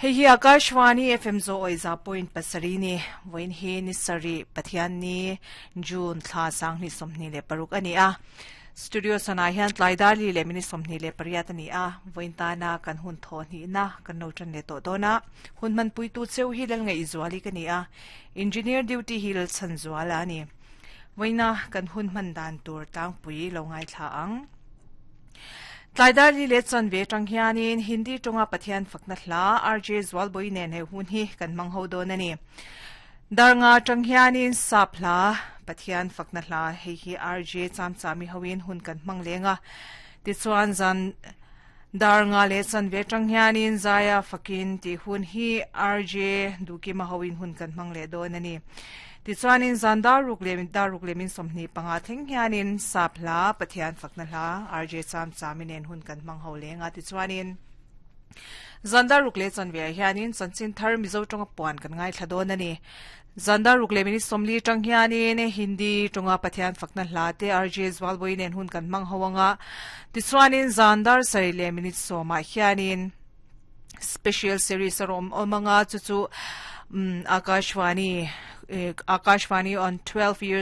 Hei hi Akashvani FM zo oi za point pasarih ni vawiin hi ni sarih Pathian ni June thla 2026 a ni a. Studio sanah hian tlai dar li leh minute 28 a ni a, vawiin tana kan hun thaw hnihna kan lo tan leh tawh dawn a. Hun hmanpuitu cheu hi Lalngaihzuali ka ni a, Engineer duty hi Lalchhanzuala a ni. Vawiina kan hun hman dan tur tlangpui lo ngaithla ang. Tlai dar li leh chanve atang hianin Hindi tawnga Pathian fakna hla RJ Zualbawi nen he hun hi kan hmang ho dawn a ni. Dar nga atang hianin Sap hla Pathian fakna hla hei hi RJ Chamchami hoin hun kan hmang leng a. Tichuan zan dar nga leh chanve atang hianin Zaia fakin tih hun hi RJ Duhkima hoin hun kan hmang leh dawn a ni. Tichuanin zan dar ruk leh dar ruk leh min 25 thleng hianin Sap hla, Pathian fakna hla, RJ Cham Chami nen hun kan hmang ho leng a. Tichuanin zan dar ruk leh chanve ah hianin chanchin thar Mizo tawnga puan kan ngaithla dawn a ni. Zan dar ruk leh minute 40 tang hianin Hindi tawnga Pathian fakna hla te RJ Zualbawi nen hun kan hmang ho anga. Tichuanin zan dar sarih leh minute 10 ah hianin special series a rawm awm anga chu chu Akashvani Akashvani on 12 years